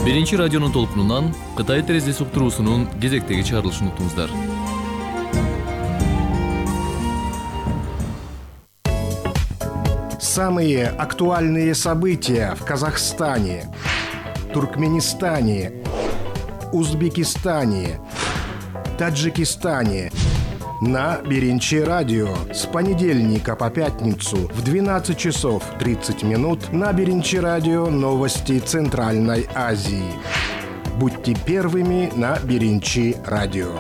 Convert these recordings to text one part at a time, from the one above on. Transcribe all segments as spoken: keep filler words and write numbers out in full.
Биринчи радионун толкунунан Кытай терезеси уктуруусунун кезектеги чыгарылышын уктуңуздар. Самые актуальные события в Казахстане, Туркменистане, Узбекистане, Таджикистане на Биринчи радио с понедельника по пятницу в двенадцать часов тридцать минут на Биринчи радио новости Центральной Азии. Будьте первыми на Биринчи радио.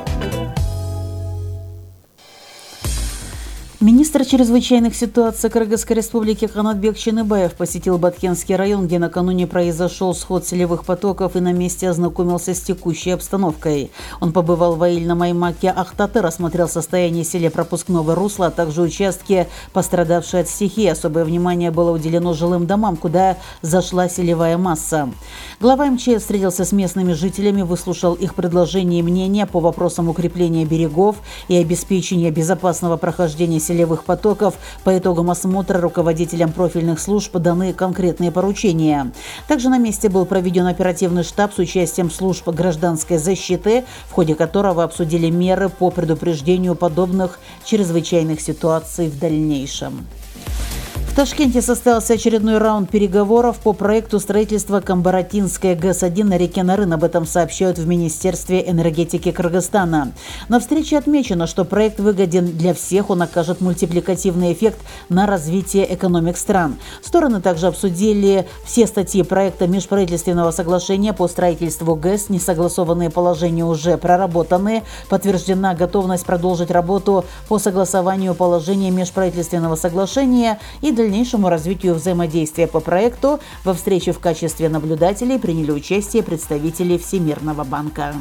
Министр чрезвычайных ситуаций Кыргызской республики Канатбек Чыныбаев посетил Баткенский район, где накануне произошел сход селевых потоков и на месте ознакомился с текущей обстановкой. Он побывал в Аильном Аймаке Ахтаты, рассмотрел состояние селепропускного русла, а также участки, пострадавшие от стихии. Особое внимание было уделено жилым домам, куда зашла селевая масса. Глава эм че эс встретился с местными жителями, выслушал их предложения и мнения по вопросам укрепления берегов и обеспечения безопасного прохождения селевых потоков. По итогам осмотра руководителям профильных служб даны конкретные поручения. Также на месте был проведен оперативный штаб с участием служб гражданской защиты, в ходе которого обсудили меры по предупреждению подобных чрезвычайных ситуаций в дальнейшем. В Ташкенте состоялся очередной раунд переговоров по проекту строительства Камбаратинской ГЭС один на реке Нарын. Об этом сообщают в Министерстве энергетики Кыргызстана. На встрече отмечено, что проект выгоден для всех, он окажет мультипликативный эффект на развитие экономик стран. Стороны также обсудили все статьи проекта межправительственного соглашения по строительству ГЭС. Несогласованные положения уже проработаны. Подтверждена готовность продолжить работу по согласованию положений межправительственного соглашения и дальнейшему развитию взаимодействия по проекту. Во встрече в качестве наблюдателей приняли участие представители Всемирного банка.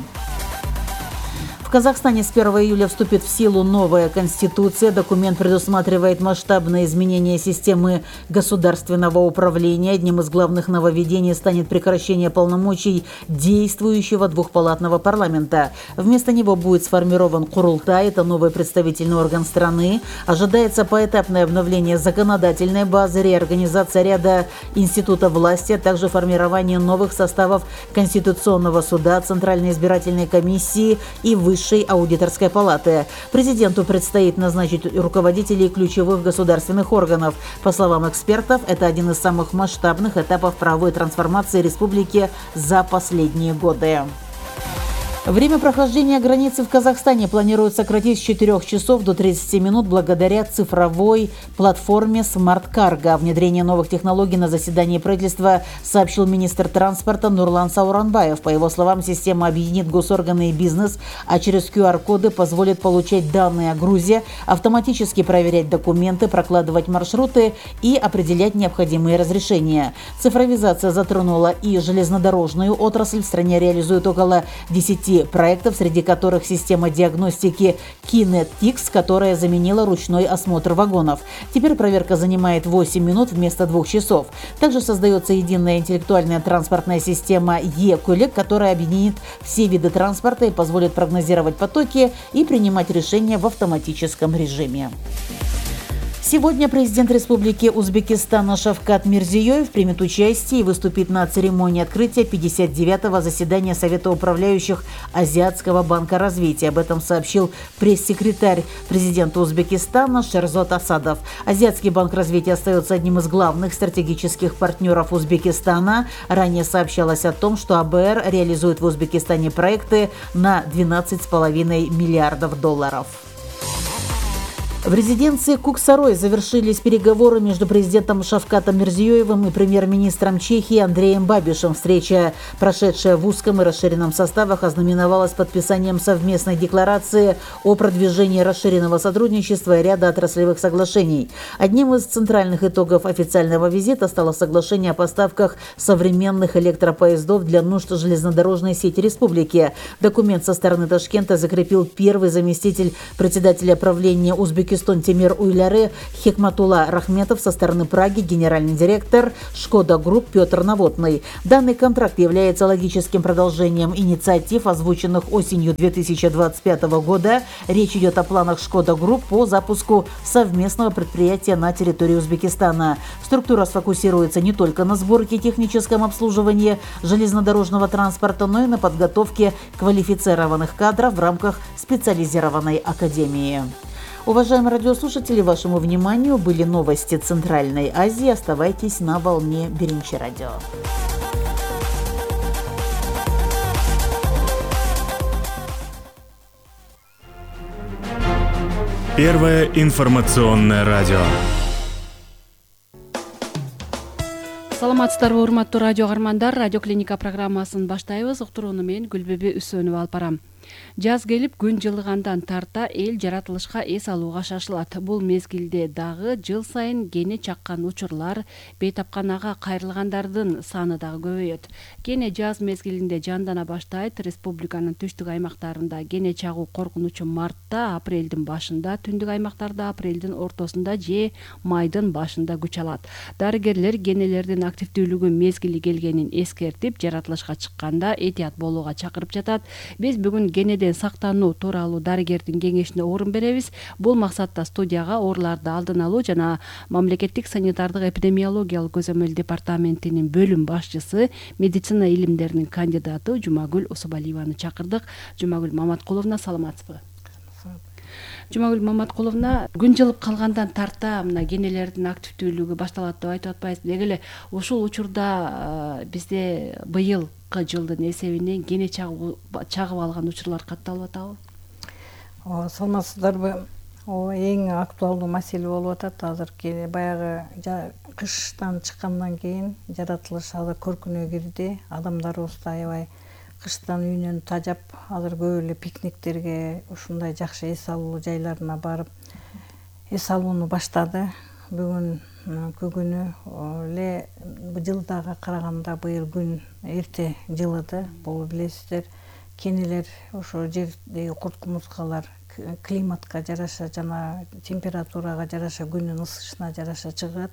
В Казахстане с первого июля вступит в силу новая конституция. Документ предусматривает масштабные изменения системы государственного управления. Одним из главных нововведений станет прекращение полномочий действующего двухпалатного парламента. Вместо него будет сформирован Курултай, это новый представительный орган страны. Ожидается поэтапное обновление законодательной базы, реорганизация ряда институтов власти, а также формирование новых составов Конституционного суда, Центральной избирательной комиссии и Высшей Высшей аудиторской палаты. Президенту предстоит назначить руководителей ключевых государственных органов. По словам экспертов, это один из самых масштабных этапов правовой трансформации республики за последние годы. Время прохождения границы в Казахстане планируют сократить с четырёх часов до тридцати минут благодаря цифровой платформе Smart Cargo. О внедрении новых технологий на заседании правительства сообщил министр транспорта Нурлан Сауранбаев. По его словам, система объединит госорганы и бизнес, а через ку ар коды позволит получать данные о грузе, автоматически проверять документы, прокладывать маршруты и определять необходимые разрешения. Цифровизация затронула и железнодорожную отрасль. В стране реализуют около десяти проектов, среди которых система диагностики Kinetix, которая заменила ручной осмотр вагонов. Теперь проверка занимает восемь минут вместо двух часов. Также создается единая интеллектуальная транспортная система Е-Кулик, которая объединит все виды транспорта и позволит прогнозировать потоки и принимать решения в автоматическом режиме. Сегодня президент Республики Узбекистана Шавкат Мирзиёев примет участие и выступит на церемонии открытия пятьдесят девятого заседания Совета управляющих Азиатского банка развития. Об этом сообщил пресс-секретарь президента Узбекистана Шерзот Асадов. Азиатский банк развития остается одним из главных стратегических партнеров Узбекистана. Ранее сообщалось о том, что а бэ эр реализует в Узбекистане проекты на двенадцать с половиной миллиардов долларов. В резиденции Куксарой завершились переговоры между президентом Шавкатом Мирзиёевым и премьер-министром Чехии Андреем Бабишем. Встреча, прошедшая в узком и расширенном составах, ознаменовалась подписанием совместной декларации о продвижении расширенного сотрудничества и ряда отраслевых соглашений. Одним из центральных итогов официального визита стало соглашение о поставках современных электропоездов для нужд железнодорожной сети республики. Документ со стороны Ташкента закрепил первый заместитель председателя правления Узбекистана Turkiston темир уйлары Хикматулла Рахметов со стороны Праги, генеральный директор Шкода Групп Петр Новотный. Данный контракт является логическим продолжением инициатив, озвученных осенью две тысячи двадцать пятого года. Речь идет о планах Шкода Групп по запуску совместного предприятия на территории Узбекистана. Структура сфокусируется не только на сборке и техническом обслуживании железнодорожного транспорта, но и на подготовке квалифицированных кадров в рамках специализированной академии. Уважаемые радиослушатели, вашему вниманию были новости Центральной Азии. Оставайтесь на волне Биринчи радио. Первое информационное радио. Саламатсыздарбы, урматтуу радио каармандар. Радио клиника программасын баштайбыз. Уктурууну мен Гүлбүбү Үсөнова алып барам. Жаз келип күн жылыгандан тарта эл жаратылышка эс алууга шашылат. Бул мезгилде дагы жыл сайын кене чаккан учурлар, бейтапканага кайрылгандардын саны дагы көбөйөт. Кене жаз мезгилинде жандана баштайт. Республиканын түштүк аймактарында кене чагуу коркунучу мартта, апрелдин башында, түндүк аймактарда апрелдин ортосунда же майдын башында күч алат. Дарыгерлер кенелердин активдүүлүгү мезгили келгенин эскертип, жаратылышка чыкканда этият болууга чакырып жатат. Биз бүгүн кенеден сактануу тууралуу дарыгердин кеңешине орун беребиз. Бул максатта студияга ооруларды алдын алуу жана мамлекеттик санитардык эпидемиологиялык көзөмөл департаментинин бөлүм башчысы, медицина илимдеринин кандидаты Жумагүл Усубалиеваны чакырдык. Жумагүл Маматкуловна, саламатсызбы? Жумагүл Маматкуловна, күн жылып калгандан тарта мына кенелердин активдүүлүгү башталат деп айтып атпайсыз. Деги эле ушул учурда бизде быйыл жылдын эсебинен кене чагып алган учурлар катталып атабы? Ооба, саламатсыздарбы? Ооба, эң актуалдуу маселе болуп атат азыр. Баягы кыштан чыккандан кийин жаратылыш азыр көркүнө кирди. Адамдарыбыз да аябай кыштан үйүнөн тажап, азыр көп эле пикниктерге, ушундай жакшы эс алуу жайларына барып эс алууну баштады. Бүгүн күнү эле жылдага караганда быйыл күн эрте жылыды. Бул билесиздер, кенелер ошо жердеги курт-кумурскалар климатка жараша жана температурага жараша, күнүн ысышына жараша чыгат.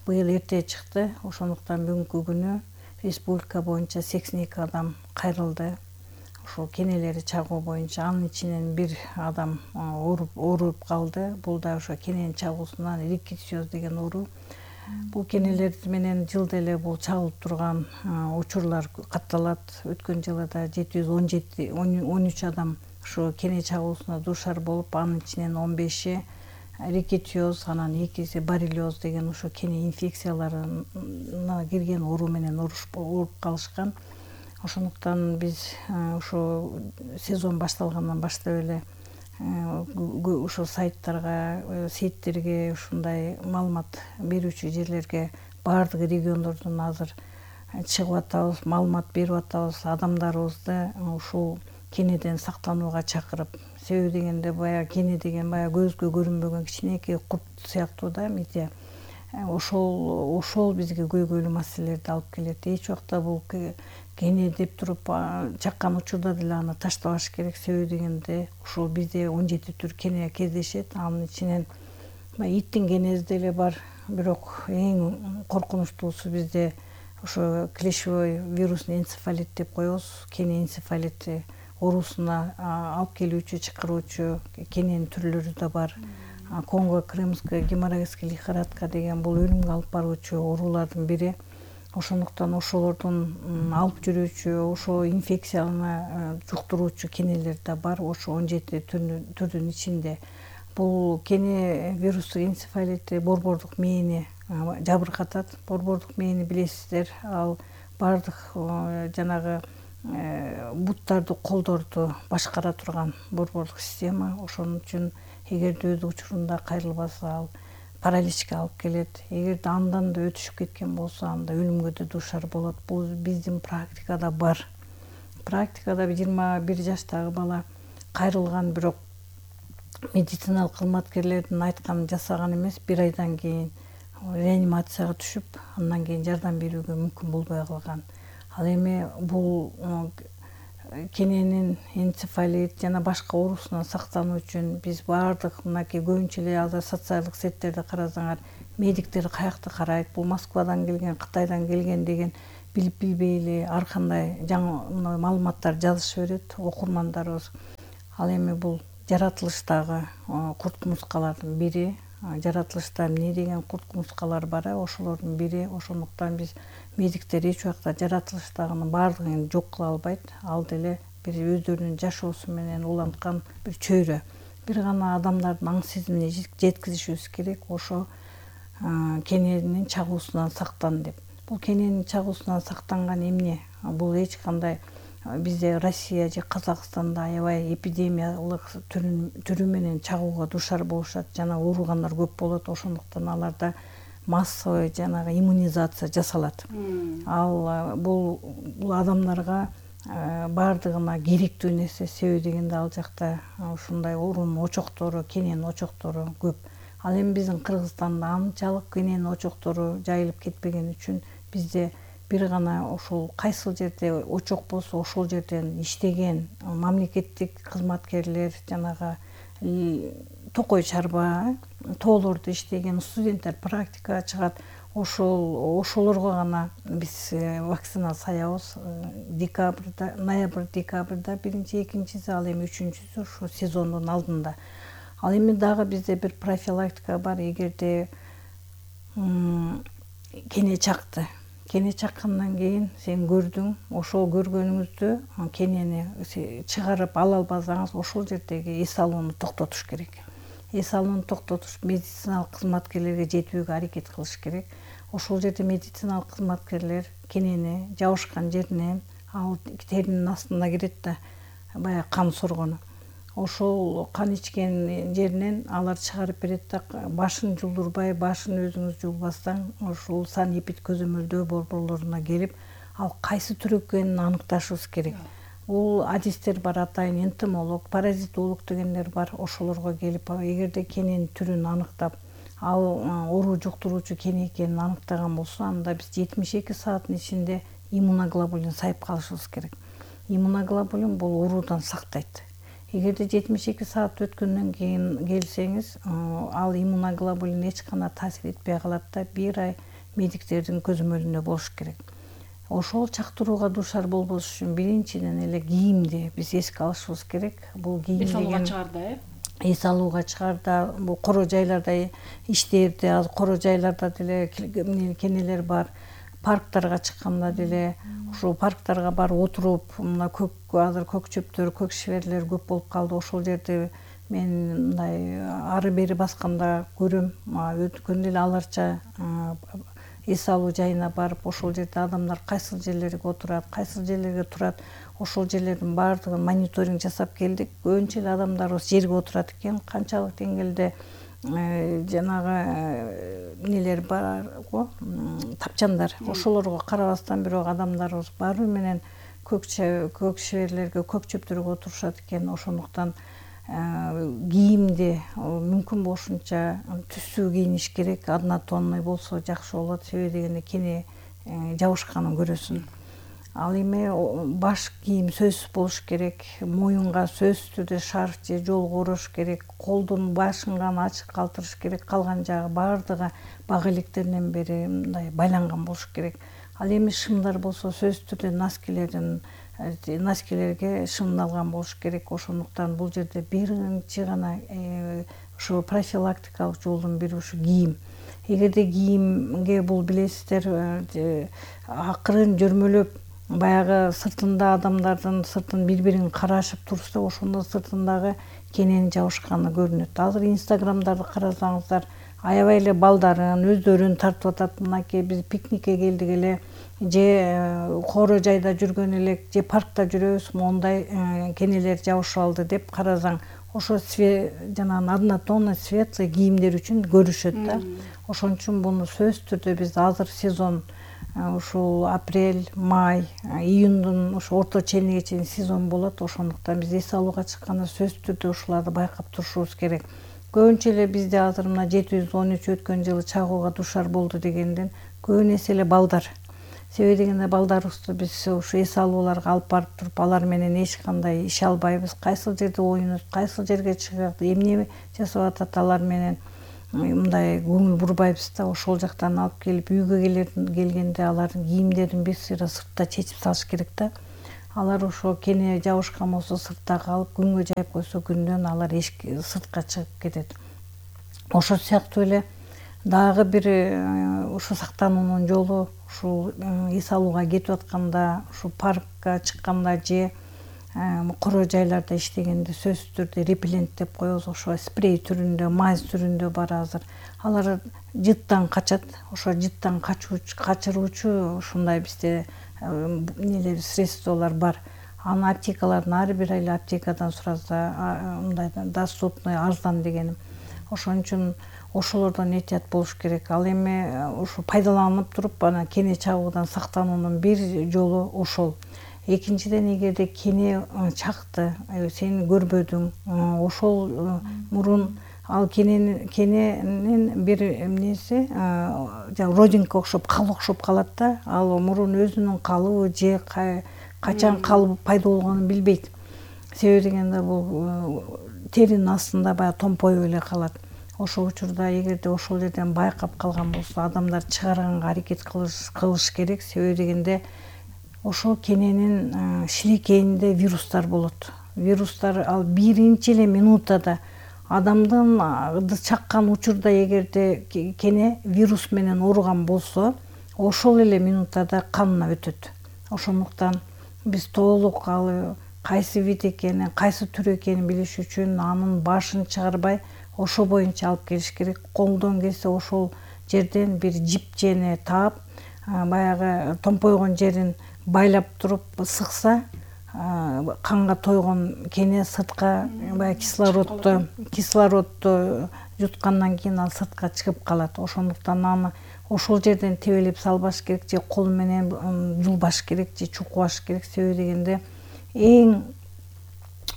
Быйыл эрте чыкты. Ошондуктан бүгүнкү күнү республика боюнча сексен эки адам кайрылды. Ошол кенелери чагуу боюнча анын ичинен бир адам ооруп ооруп калды. Бул да ошо кененин чагуусунан риккетсиоз деген оору. Бул кенелер менен жылда эле бул чагылып турган учурлар катталат. Өткөн жылы да жети жүз он жети он үч адам ошо кене чагуусуна дуушар болуп, анын ичинен он беши риккетсиоз, анан экиси боррелиоз деген ошо кене инфекцияларына кирген оору менен ооруп калышкан. Ошондуктан биз ошо сезон башталгандан баштап эле ошо сайттарга, сеттерге, ушундай маалымат берүүчү жерлерге баардык региондордон азыр чыгып атабыз, маалымат берип атабыз, адамдарыбызды ушул кенеден сактанууга чакырып. Себеби дегенде баягы кене деген баягы көзгө көрүнбөгөн кичинекей курт сыяктуу да, миде. Ошол ошол бизге көйгөйлүү маселелерди алып келет. Эч убакта бул кене деп туруп чаккан учурда деле аны таштабаш керек. Себеби дегенде ушул бизде он жети түр кене кездешет. Анын ичинен иттин кенеси деле бар. Бирок эң коркунучтуусу бизде ошо клещевой вирусный энцефалит деп коебуз. Кене энцефалити оорусуна алып келүүчү, чакыруучу кененин түрлөрү да бар. Конго-крымская геморрагическая лихорадка деген бул өлүмгө алып баруучу оорулардын бири. Ошондуктан ошолордун алып жүрүүчү, ошо инфекцияны жуктуруучу кенелер да бар. Ошо он жети түрдүн ичинде бул кене вирустук энцефалити борбордук мээни жабыркатат. Борбордук мээни билесиздер, ал бардык жанагы буттарды, колдорду башкара турган борбордук система. Ошон үчүн эгерде өз учурунда кайрылбаса, ал параличке алып келет. Эгерде андан да өтүшүп кеткен болсо, анда өлүмгө да дуушар болот. Бул биздин практикада бар. Практикада жыйырма бир жаштагы бала кайрылган, бирок медициналык кызматкерлердин айтканын жасаган эмес. Бир айдан кийин реанимацияга түшүп, андан кийин жардам берүүгө мүмкүн болбой калган. Ал эми бул кененин энцефалит жана башка оорусунан сактануу үчүн биз баардык мынакей көбүнчө эле азыр социалдык сеттерди карасаңар, медиктер каякта карайт, бул Москвадан келген, Кытайдан келген деген билип билбей эле ар кандай жаңы маалыматтар жазыша берет окурмандарыбыз. Ал эми бул жаратылыштагы курт кумурскалардын бири, жаратылышта эмне деген курт кумурскалар бар, ошолордун бири. Ошондуктан биз медиктер эч убакта жаратылыштагынын баардыгын жок кыла албайт. Ал деле бир өздөрүнүн жашоосу менен уланткан бир чөйрө. Бир гана адамдардын аң сезимине жеткизишибиз керек, ошо кененин чагуусунан сактан деп. Бул кененин чагуусунан сактанган эмне? Бул эч кандай бизде Россия же Казакстанда аябай эпидемиялык түрү менен чагууга душар болушат, жана ооругандар көп болот. Ошондуктан аларда массовый жанагы иммунизация жасалат. Ал бул бул адамдарга баардыгына керектүү нерсе, себеби дегенде ал жакта ушундай оорунун очоктору, кененин очоктору көп. Ал эми биздин Кыргызстанда анчалык кененин очоктору жайылып кетпеген үчүн бизде бир гана ошол кайсыл жерде очок болсо ошол жерден иштеген мамлекеттик кызматкерлер, жанагы токой чарба, тоолордо иштеген студенттер практикага чыгат. Ошол ошолорго гана биз вакцина саябыз. Декабрда, ноябрь, декабрда биринчи, экинчиси, ал эми үчүнчүсү ушу сезондун алдында. Ал эми дагы бизде бир профилактика бар. Эгерде кене чакты, кене чаккандан кийин сен көрдүң, ошол көргөнүңүздү кенени чыгарып ала албасаңыз, ошол жердеги эс алууну токтотуш керек. Эс алууну токтотуш медициналык кызматкерлерге жетүүгө аракет кылыш керек. Ошол жерде медициналык кызматкерлер кенени жабышкан жеринен, ал теринин астына кирет да, баягы кан соргону. Ошол кан ичкен жеринен алар чыгарып берет да, башын жулдурбай, башын өзүңүз жулбастан, ошол санэпид көзөмөлдөө борборлоруна келип, ал кайсы түрү экенин аныкташыбыз керек. Бул адистер бар, атайын энтомолог, паразитолог дегендер бар. Ошолорго келип, эгерде кененин түрүн аныктап, ал оору жуктуруучу кене экенин аныктаган болсо, анда биз жетимиш эки сааттын ичинде иммуноглобулин сайып калышыбыз керек. Иммуноглобулин бул оорудан сактайт. Эгерде жетимиш эки саат өткөндөн кийин келсеңиз, ал иммуноглобулин эч кандай таасир этпей калат да, бир ай медиктердин көзөмөлүндө болуш керек. Ошол чактырууга душар болбош үчүн биринчиден эле кийимди биз эске алышыбыз керек. Бул кийим деген эс алууга чыгарда, э? Эс алууга чыгарда, бул коро жайларда иштээрде, азыр коро жайларда деле кенелер бар. Парктарга чыкканда деле ошол парктарга барып отуруп, мына көк азыр көк чөптөр, көк шиберлер көп болуп калды. Ошол жерде мен мындай ары бери басканда көрөм, өткөндө эле аларча эс алуу жайына барып, ошол жерде адамдар кайсыл жерлерге отурат, кайсыл жерлерге турат, ошол жерлердин баардыгын мониторинг жасап келдик. Көбүнчө эле адамдарыбыз жерге отурат экен, канчалык деңгээлде жанагы нелер бар го, тапчандар, ошолорго карабастан бирок адамдарыбыз баары менен көк шиберлерге, көк чөптөргө отурушат экен. Ошондуктан кийимди мүмкүн болушунча түздүү кийиниш керек. Однотонный болсо жакшы болот, себеби дегенде кене жабышканын көрөсүн. Ал эми баш кийим сөзсүз болуш керек, моюнга сөзсүз түрдө шарф же жолго орош керек, колдун башын гана ачык калтырыш керек, калган жагы баардыгы бага электеринен бери мындай байланган болуш керек. Ал эми шымдар болсо сөзсүз түрдө носкилердин носкилерге шымдалган болуш керек. Ошондуктан бул жерде биринчи гана ошо профилактикалык жолдун бири ушу кийим. Эгерде кийимге бул билесиздер акырын жөрмөлөп баягы сыртында адамдардын сыртын бири-бирин карашып турса, ошондо сыртындагы кененин жабышканы көрүнөт. Азыр инстаграмдарды карасаңыздар, аябай эле балдарын өздөрүн тартып атат. Мынакей биз пикникке келдик эле, же коро жайда жүргөн элек, же паркта жүрөбүз, мондай кенелер жабышып алды деп карасаң, ошо жанагы однотонный светлый кийимдер үчүн көрүшөт да. Ошон үчүн буну сөзсүз түрдө биз азыр сезон, ушул апрель, май, июндун ошо орто чениге чейин сезон болот. Ошондуктан биз эс алууга чыкканда сөзсүз түрдө ушуларды байкап турушубуз керек. Көбүнчө эле бизде азыр мына жети жүз он үч өткөн жылы чагууга душар болду дегенден көбүнесе эле балдар. Себеби дегенде балдарыбызды биз ушу эс алууларга алып барып туруп алар менен эч кандай иш албайбыз. Кайсыл жерде оюнат, кайсыл жерге чыгат, эмне жасап атат алар менен мындай көңүл бурбайбыз да. Ошол жактан алып келип үйгө келгенде алардын кийимдерин бир сыйра сыртта чечип салыш керек да. Алар ошо кене жабышкан болсо сыртта калып, күнгө жайып койсо күндөн алар эшикке сыртка чыгып кетет. Ошол сыяктуу эле дагы бир ушу сактануунун жолу ушул эс алууга кетип атканда, ушу паркка чыкканда же коро жайларда иштегенде сөзсүз түрдө репеллент деп коебуз, ошо спрей түрүндө, мазь түрүндө бар азыр. Алар жыттан качат. Ошо жыттан качуучу, качыруучу ушундай бизде эмнелер, средстволор бар. Аны аптекалардын ар бир эле аптекадан сураса, мындай доступный, арзан дегеним. Ошон үчүн ошолордон этият болуш керек. Ал эми ушу пайдаланып туруп ана кене чагуудан сактануунун бир жолу ошол. Экинчиден, эгерде кене чакты, сен көрбөдүң, ошол мурун ал кененин кененин бир эмнеси, родинка окшоп, кал окшоп калат да. Ал мурун өзүнүн калыбы же качан калып пайда болгонун билбейт. Себеби дегенде бул теринин астында баягы томпоюп эле калат. Ошол учурда эгерде ошол жерден байкап калган болсо, адамдар чыгарганга аракет кылыш керек. Себеби дегенде ошол кененин шилекейинде вирустар болот. Вирустар ал биринчи эле минутада адамдын чаккан учурда эгерде кене вирус менен ооруган болсо, ошол эле минутада канына өтөт. Ошондуктан биз толук ал кайсы вид экенин, кайсы түр экенин билиш үчүн анын башын чыгарбай, ошо боюнча алып келиш керек. Колдон келсе ошол жерден бир жипчени таап, баягы томпойгон жерин байлап туруп сыкса, канга тойгон кене сыртка баягы кислородду кислородду жуткандан кийин ал сыртка чыгып калат. Ошондуктан аны ошол жерден тебелеп салбаш керек, же кол менен жулбаш керек, же чукубаш керек. Себеби дегенде эң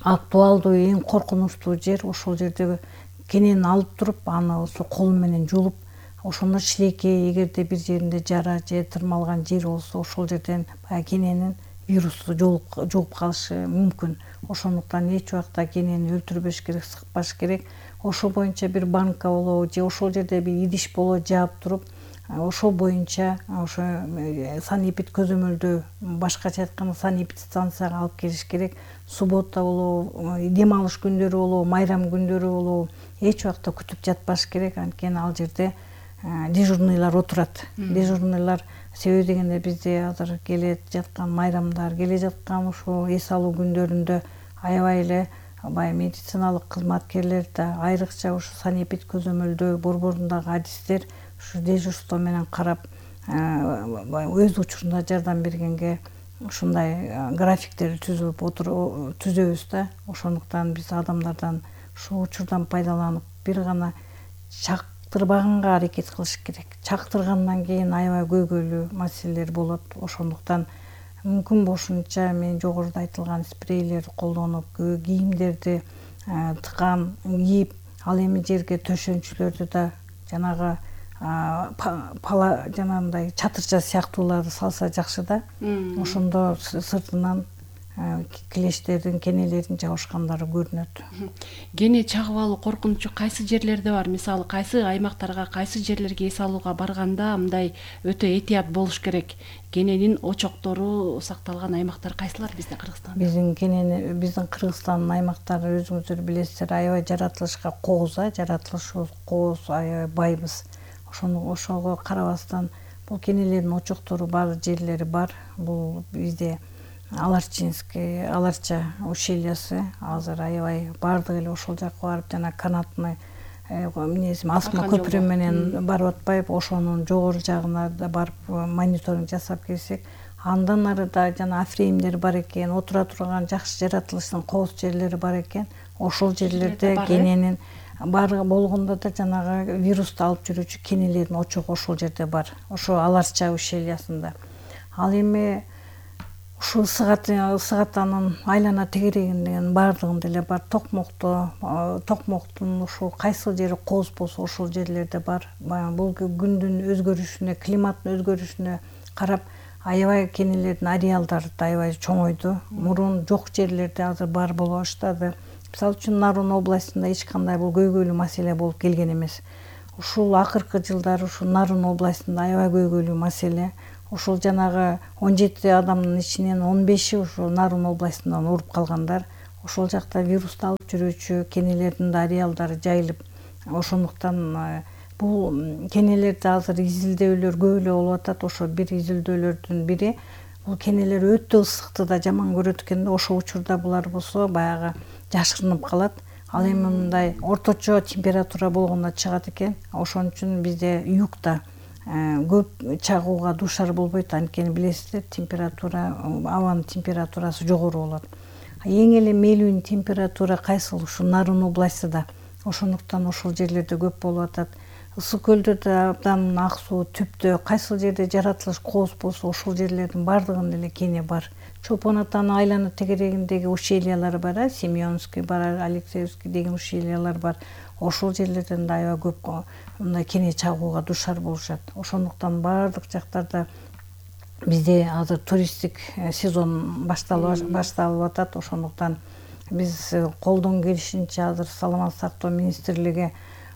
актуалдуу, эң коркунучтуу жер ошол жерде кенени алып туруп, аны ошо кол менен жулуп, ошондо шилекей, эгерде бир жеринде жара же тырмалган жер болсо, ошол жерден баягы кененин вирусу жугуп калышы мүмкүн. Ошондуктан эч убакта кенени өлтүрбөш керек, сыкпаш керек. Ошол боюнча бир банка болобу же ошол жерде бир идиш болобу жаап туруп, ошол боюнча ошо санэпид көзөмөлдөө, башкача айтканда санэпид станцияга алып келиш керек. Суббота болобу, дем алыш күндөрү болобу, майрам күндөрү болобу, эч убакта күтүп жатпаш керек. Анткени ал жерде дежурныйлар отурат. Дежурныйлар, себеби дегенде бизде азыр келе жаткан майрамдар, келе жаткан ушул эс алуу күндөрүндө аябай эле бай медициналык кызматкерлер да, айрыкча ушу санэпид көзөмөлдөө борборундагы адистер ушу дежурство менен карап, өз учурунда жардам бергенге ушундай графиктерди түзүп түзөбүз да. Ошондуктан биз адамдардан ушул учурдан пайдаланып бир гана чактырбаганга аракет кылыш керек. Чактыргандан кийин аябай көйгөйлүү маселелер болот. Ошондуктан мүмкүн болушунча мен жогоруда айтылган спрейлерди колдонуп, кийимдерди тыкан кийип, ал эми жерге төшөнчүлөрдү да жанагы пала жанагындай чатырча сыяктууларды салса жакшы да. Ошондо сыртынан килештердин, кенелердин жабышкандары көрүнөт. Кене чагып алуу коркунучу кайсы жерлерде бар? Мисалы, кайсы аймактарга, кайсы жерлерге эс алууга барганда мындай өтө этият болуш керек? Кененин очоктору сакталган аймактар кайсылар бизде, Кыргызстанда? Биздин кенени, биздин Кыргызстандын аймактары өзүңүздөр билесиздер, аябай жаратылышка кооз, жаратылышыбыз кооз, аябай байбыз. Ошону ошого карабастан бул кенелердин очоктору бар жерлери бар. Бул бизде Аларчинский, Аларча ущельясы азыр аябай бардык эле ошол жакка барып, жана канатный эмнеси асма көпүрө менен барып атпайбы, ошонун жогору жагына да барып мониторинг жасап келсек, андан арыда жана афреимдер бар экен, отура турган жакшы жаратылыштын кооз жерлери бар экен. Ошол жерлерде кененин бар болгондо да жанагы вирусту алып жүрүүчү кенелердин очогу ошол жерде бар. Ошо Аларча ущельясында. Ал эми ушул Сыгатанын айлана тегерегинин бардыгында эле бар. Токмокто, Токмоктун ушул кайсыл жери кооз болсо ошол жерлерде бар. Бул күндүн өзгөрүшүнө, климаттын өзгөрүшүнө карап аябай кенелердин ареалдары да аябай чоңойду. Мурун жок жерлерде азыр бар боло баштады. Мисалы үчүн Нарун областында эч кандай бул көйгөйлүү маселе болуп келген эмес. Ушул акыркы жылдары ушул Нарун областында аябай көйгөйлүү маселе. Ушул жанагы он жети адамдын ичинен он беши ушул Нарун областынан ооруп калгандар. Ошол жакта вирусту алып жүрүүчү кенелердин да ареалдары жайылып, ошондуктан бул кенелерде азыр изилдөөлөр көп эле болуп атат. Ошо бир изилдөөлөрдүн бири бул кенелер өтө ысыкты да жаман көрөт экен да, ошол учурда булар болсо баягы жашырынып калат. Ал эми мындай орточо температура болгондо чыгат экен. Ошон үчүн бизде югда көп чагууга дуушар болбойт. Анткени билесиздер, температура, абанын температурасы жогору болот. Эң эле мээлүү температура кайсыл? Ушу Нарун областында. Ошондуктан ошол жерлерде көп болуп атат. Ысык көлдөрдө абдан ак суу, түптө кайсыл жерде жаратылыш кооз болсо ошол жерлердин бардыгында эле кене бар. Чолпон атанын айлана тегерегиндеги ущельялар бар, Семёнский бар, Алексеевский деген ущельялар бар. Ошол жерлерден да аябай көп мындай кене чагууга дуушар болушат. Ошондуктан бардык жактарда бизде азыр туристтик сезон башталып башталып атат. Ошондуктан биз колдон келишинче азыр Саламаттык сактоо министрлиги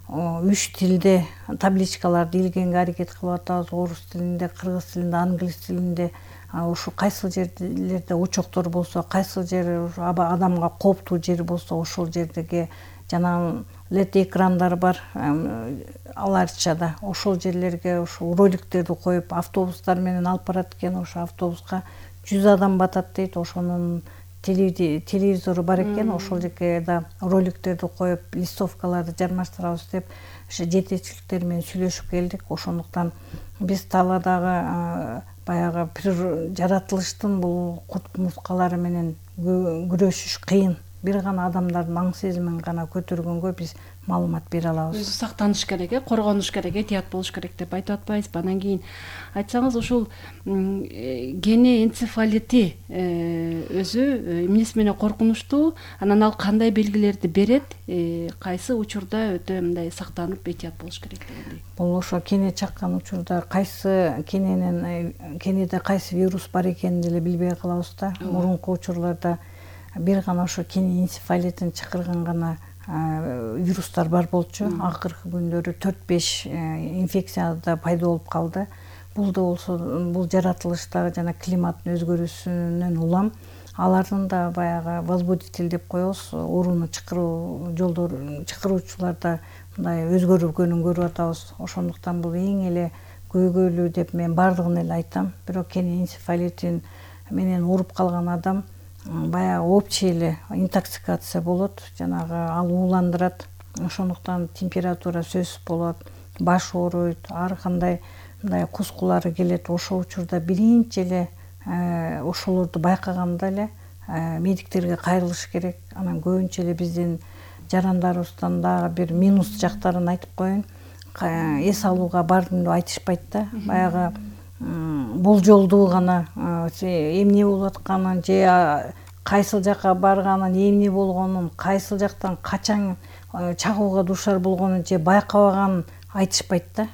үч тилде табличкаларды илгенге аракет кылып атабыз. Орус тилинде, кыргыз тилинде, англис тилинде. Ушу кайсыл жерлерде учоктор болсо, кайсыл жер адамга кооптуу жер болсо, ошол жердеги жана лед экрандар бар аларчада. Ошол жерлерге ошол роликтерди коюп, автобустар менен алып барат экен. Ошо автобуска жүз адам батат дейт. Ошонун телевизору бар экен. Ошол жерге да роликтерди коюп, листовкаларды жармаштырабыз деп ошо жетекчиликтер менен сүйлөшүп келдик. Ошондуктан биз талаадагы баягы жаратылыштын бул курт мускалары менен күрөшүш кыйын. Бир гана адамдардын аң сезимин гана көтөргөнгө биз маалымат бере алабыз. Өзү сактаныш керек, э, коргонуш керек, этият болуш керек деп айтып атпайсызбы? Анан кийин айтсаңыз, ушул гене энцефалити өзү эмнеси менен коркунучтуу? Анан ал кандай белгилерди берет? Кайсы учурда өтө мындай сактанып этият болуш керек дегендей? Бул ошо кене чаккан учурда кайсы кененин кенеде кайсы вирус бар экенин деле билбей калабыз да. Мурунку учурларда бир гана ошо кене энцефалитин чакырган гана вирустар бар болчу. Акыркы күндөрү төрт беш инфекция да пайда болуп калды. Бул да болсо бул жаратылыштагы жана климаттын өзгөрүүсүнөн улам. Алардын да баягы возбудитель деп коебуз, ооруну чакыруу жолдору, чакыруучуларда мындай өзгөргөнүн көрүп атабыз. Ошондуктан бул эң эле көйгөйлүү деп мен бардыгын эле айтам. Бирок кене энцефалитин менен ооруп калган адам баягы общий эле интоксикация болот, жанагы ал ууландырат. Ошондуктан температура сөзсүз болот, баш ооруйт, ар кандай мындай кускулары келет. Ошол учурда биринчи эле ошолорду байкаганда эле медиктерге кайрылыш керек. Анан көбүнчө эле биздин жарандарыбыздан дагы бир минус жактарын айтып коеюн. Эс алууга бардым деп айтышпайт да. Баягы болжолдуу гана эмне болуп атканын же кайсыл жака барганын, эмне болгонун, кайсыл жактан качан чагууга дуушар болгонун же байкабаганын айтышпайт да.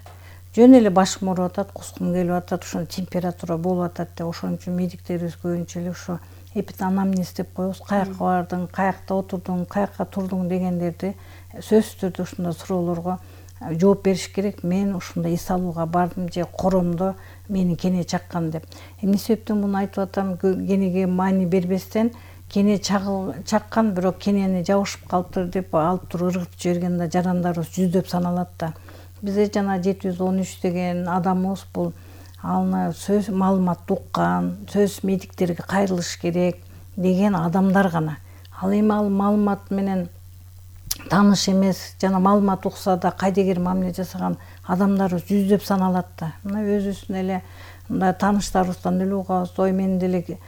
Жөн эле башым ооруп атат, кускум келип атат, ошо температура болуп атат деп. Ошон үчүн медиктерибиз көбүнчө эле ошо эпианамнез деп коебуз. Каякка бардың, каякта отурдуң, каякка турдуң дегендерди сөзсүз түрдө ушундай суроолорго жооп бериш керек. Мен ушундай эс алууга бардым же коромдо мени кене чаккан деп. Эмне себептен муну айтып атам? Кенеге маани бербестен кене чаккан, бирок кенени жабышып калыптыр деп алып туруп ыргытып жиберген да жарандарыбыз жүздөп саналат да. Бизде жана жети жүз он үч деген адамыбыз бул аны сөз маалымат уккан, сөз медиктерге кайрылыш керек деген адамдар гана. Ал эми ал маалымат менен тааныш эмес, жана маалымат укса да кайдыгер мамиле жасаган адамдарыбыз жүздөп саналат да. Мына өзүбүздүн эле мындай тааныштарыбыздан деле угабыз, ой мен деле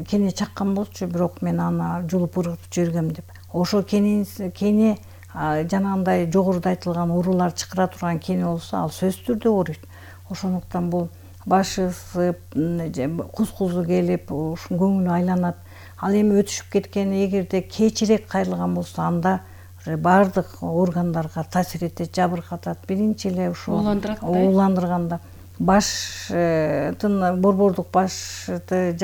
кене чаккан болчу, бирок мен аны жулуп ыргытып жибергем деп. Ошо кене кене жанагындай жогоруда айтылган оорулар чакыра турган кене болсо, ал сөзсүз түрдө ооруйт. Ошондуктан бул башы ысып, кускузу келип, ушу көңүлү айланат. Ал эми өтүшүп кеткен, эгерде кечирээк кайрылган болсо, анда бардык органдарга таасир этет, жабыркатат. Биринчи эле ушу ууландырганда баштын борбордук башты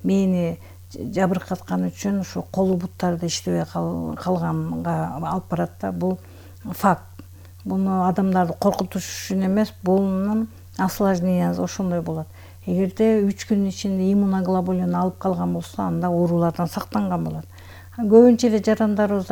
мээни жабыркаткан үчүн ушу колу буттарды иштебей калганга алып барат да. Бул факт. Буну адамдарды коркутуш үчүн эмес, бунун осложнениясы ошондой болот. Эгерде үч күн ичинде иммуноглобулин алып калган болсо, анда оорулардан сактанган болот. Көбүнчө эле жарандарыбыз